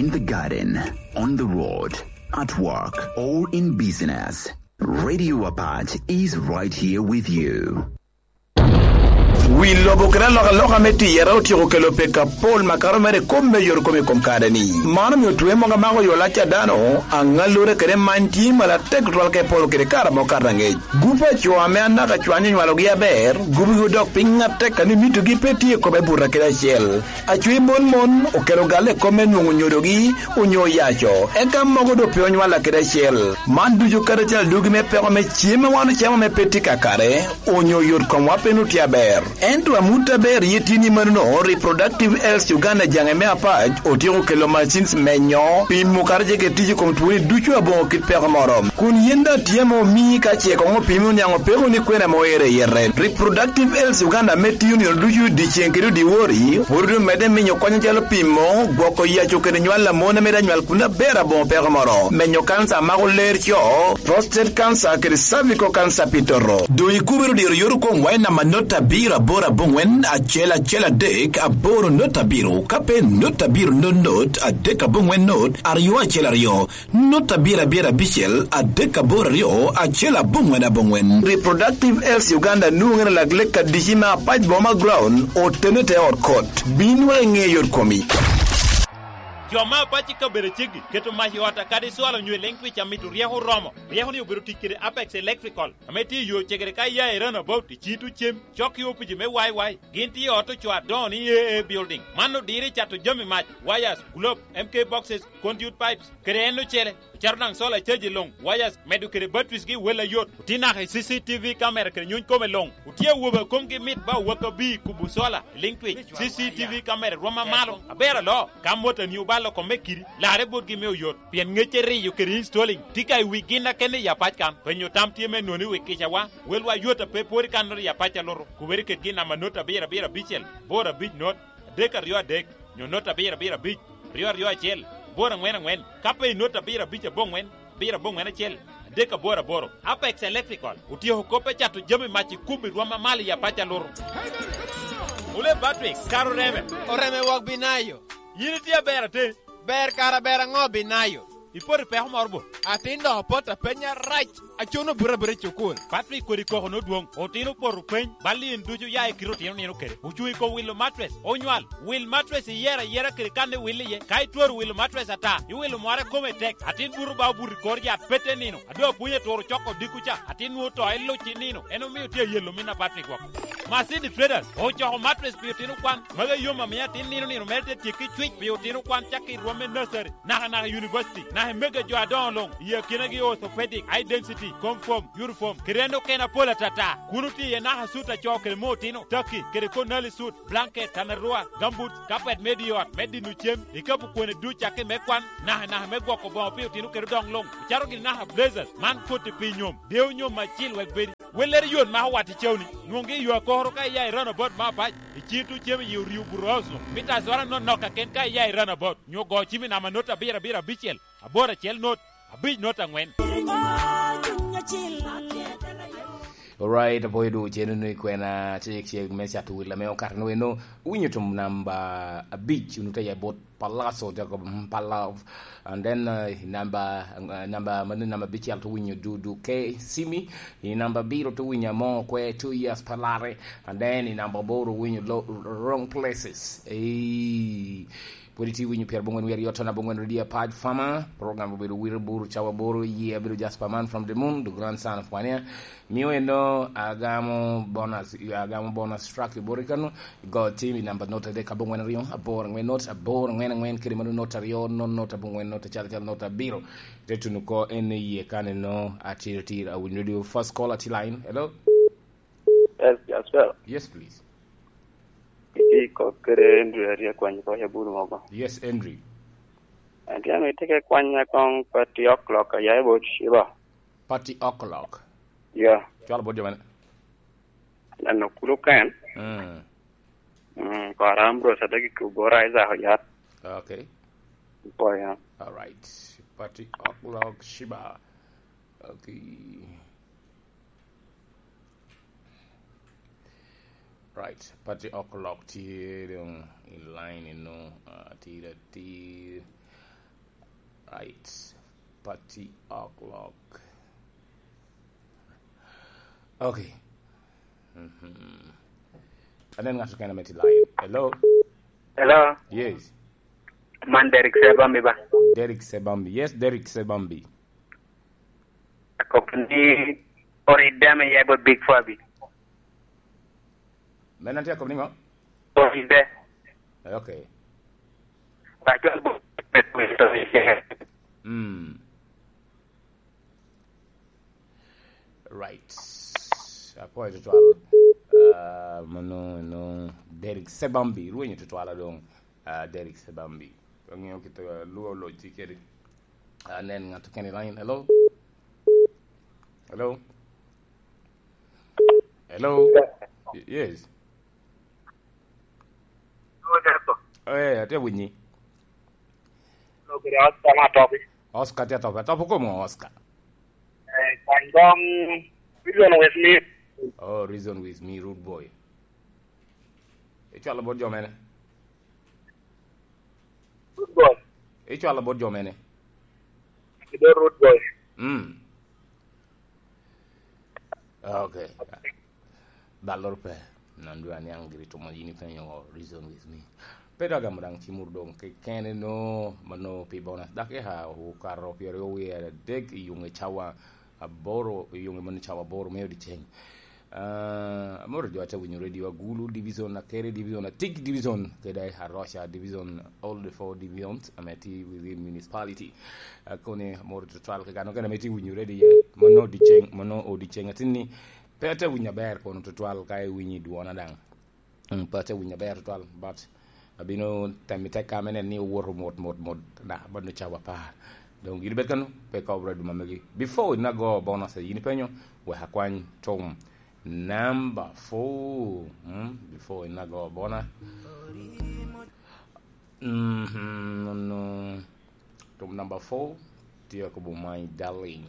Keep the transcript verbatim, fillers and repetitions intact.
In the garden, on the road, at work, or in business, Radio Apac is right here with you. Wi lobo kede alokaloka me tiyere otyeko kelo peko apol makato mere i kop me yot kom i kom kare-ni. Man omio twe mogo amako yo lac a dano, aŋallure kede many tye malo atek tutwal ka epolo kede kare amo kato aŋec. Gup a co ame anaka cwany onywalogi aber, gubigi odok piny atek a ni mitogi pe tye i kome buto kede acel. Acwe mon mon okelo galle i kop me nwoŋo nyodogi onyo oyaco, eka mogo doŋ pe onywalla kede acel. Man ducu kadi acel adugi me peko me cem a wan ocamo ame pe tye kakare, onyo yot komwa pe nwoŋo tye aber. Ento amut aber ye tye ni manono, Reproductive Health Uganda jaŋe me Apac otyeko kelo machines menyo, pimo kadi ce kede tic i kom twoni ducu aboŋo kit peko moro. Kun yin daŋ tye ame omii ka ce koŋ opimi oniaŋ opeko ni kwena ame oero i yete. Reproductive Health Uganda ame tiyo nino ducu dyeceŋ kede dyewor-ri, pwod omedde minyo kony acalo pimo, gwoko yaco kede nywal a mon ame daŋ nywal kun aber aboŋo peko moro, menyo kanca a mako ler co, prostate cancer kede cervical cancer pi toto. Doŋ ikubere odiro yot okomwa i namba not abiro aboro aboŋwen acel acel adek aboro not abiro, ka pe not abiro not not adek aboŋwen not aryo acel aryo. Not abiro abiro abicel adek aboro aryo acel aboŋwen aboŋwen. Reproductive Health Uganda nwoŋere lak lek adici me Apac Boma Ground, otene te ot kot. Bin wek iŋe yot komi. Jo me Apac i kabedo ceggi keto mac i ot a kadi cwalo nyo i leŋ twic a mito ryeko oromo. Ryeko ni obedo tic kede Apex Electrical, ame tye i yo cegere ka iya i Roundabout i Cito Cem, cok i opici me Y Y. Gin tye i ot ocoo adoŋo ni A A Building. Man odiro i cato jami mac, wires, globe, M K boxes, conduit pipes, kede en ocele. Ocato daŋ solar charge luŋ, wires, medo kede batteries gi wel ayot. Otye naka i C C T V camera kede nyuny kome luŋ. Otye awobe a komgi mit ba owak abir kubo solar i liŋ twic. C C T V camera rwom amalo, aber aloo. Ka motani obalo kome kidi, larre botgi me oyot. Pien ŋecce riyo kede installing tye ka i wi gin akene i Apac kan. Penyo tam tye me nwoŋo i wi kicawa. Welwa yot a pe pwod i kannoro i Apac alutu. Kubere kedgi i namba not abiro abiro abicel, boro abic not, adek aryo adek, nyo not abiro abiro abic, aryo aryo acel, boro aŋwen aŋwen, ka pe i not abiro abic aboŋwen, abiro aboŋwen acel, adek aboro aboro. Apex Electrical otyeko kop me cato jami mac i kubo i rwom amalo i Apac alutu. Ole Patrick, kara oreme. Oreme wok binayo. Yin itye aber atir. Ber kara ber aŋo binayo? Ipoto i peko moro bo? Atin dok opoto apeny arac. Acuno buto abuta i cukul. Patrick kodi koko nodwoŋ. Otino opoto peny, bal in ducu ya i kite otino nino kede. Ocuŋ i kom wilo matres. Onywal, wil matres iyero ayera kede kan iwil iye. Ka itwero wilo matres ata, iwilo mware kome tek. Atin buto ba obuto i kor yat pete nino. A doŋ apwony aturo coko dikku ca, atin nwoŋo to eluc i nino. En omio tye ayelo min a Patrick woko. Masini Traders ocoko matres pi otino kwan. Magi yom amio atin nino nino mere te tyekki cwic pi otino kwan cakki i rwom me nursery, naka naka i university, naka i mege jo adoŋo luŋ, i akinagi orthopedic, high density, comfom, uniform, kede en okene apol atata. Kun otye iye naka sut a co kede me otino, taki, kede konali sut, blanket, tanarua, gumboots, carpet me di ot, me dino cem, ikapu kwone duc cakki me kwan, naka naka me gwoko boŋo pi otino kede odoŋ luŋ. Ocato gini naka blazers, man koti pi nyom, deo nyom acil wek bedi. Wellere yot mako wat i cawni. Nwoŋgi i yo akokoro ka iya i Roundabout me Apac, i cito cem i Orio Bureau House-nu. Mita azora nonok kaken ka iya i Roundabout, nyo go cim i namba not abiro abiro abicel, aboro acel not, abic not aŋwen. Alright, apoyo dwogo cen unu i kwena cek cek me cato wil ame okato ni weno. Winyo tum namba abic, unu te ya bot Palazzo, Jacob Mpalav. And then, uh, namba, uh, namba, mano namba abicel to winyo Dudu K Simi. I namba abiro to winyo Amo Kwe, two years palare. And then i namba aboro winyo lo, Wrong Places. Ei, pwod itye winyo pyerabongwen wiye aryo ton abongwen radio Apac Farmer. Program obedo Wiro Buru cawa aboro, ye abedo Jasper Man from the Moon, the grandson of Wania. Mio eno agamo bonus, agamo bonus track i boti kano, go team i namba not adek abongwen aryo, aboro angwen not, aboro angwen angwen, kede mano not aryo, not not abongwen not, acel acel not abiro. Te tuno ko en iye kan eno, atir atir, awinyo radio first call ati line. Hello? Yes, Jasper. Yes, please. Iti kok kede Andrew Aria kwany ko ya bulu mogo. Yes, Andrew. Antiano itike kwanya kong pati o'clock a ya bot Shiba. Party o'clock. Yeah. Cwalo bot jo mene? Nano kulu ken. Mm. Mm, ko aram bro sa dagi ku bora iza ho yat. Okay. Po ya. All right. Party o'clock Shiba. Okay. Right. Party o'clock tye dong in line eno. Uh, tye da tye. Right. Party o'clock. Okay. Mhm. Anen ŋat okene me ti line. Hello? Hello? Yes. Man Derek Sebambi ba? Derek Sebambi. Yes, Derek Sebambi. Akop ni oride ame ya bot Big Fabi. Men an tye akop ni ŋo? Oride. Okay. Ba cwal bo-, Mm. Right. Apwoyo tutwal. Ah, mano, no, Derek Sebambi, rwenyo tutwal adong. Ah, Derek Sebambi. Ang'eyo kit, ah, luo loc tye kede. Ah, nen ŋat okene i line. Hello? Hello? Hello? Y-, yes. Eh, atye winyi. Oscar tye atop. Atop kom ŋo Oscar? Eh, kwan dong, Reason With Me. Oh, Reason With Me, Rude Boy. Icwalo bot jo mene? Rude Boy. Icwalo bot jo mene? Kido Rude Boy. Mm. Okay. Dalloro pe. Non dwe aniaŋ giri tumo yin ipenyo Reason With Me. Pe dok agamo daŋ cimuru doŋ kekene no, mano pi bonus. Dakika okato pyeraryo wie adek i yuŋ i cawa aboro, i yuŋ i mano cawa aboro me odiceng. Ah, amoro jo ate winyo radio Agulu Division, Akere Division, Atik Division, kede Aroca Division, all the four divisions, ame tye within municipality. Ah, koni amoro tutwal kekano kene ame tye winyo radio ye, mano odiceng, mano odiceng atinni, pe ate winyo aber kono tutwal ka iwinyo i dwona daŋ. Mm, pe ate winyo aber tutwal, but abino temo i tekka me neno ni owoto mot, mot, mot, na, bot cawa apar. Doŋ gin obed kano, pe ka obro duma megi. Before in ago bonus, yin ipenyo, wek akwany tom number four. Mm, before in ago bona. Mhm, no, no. Tom number four, tye akobo my darling.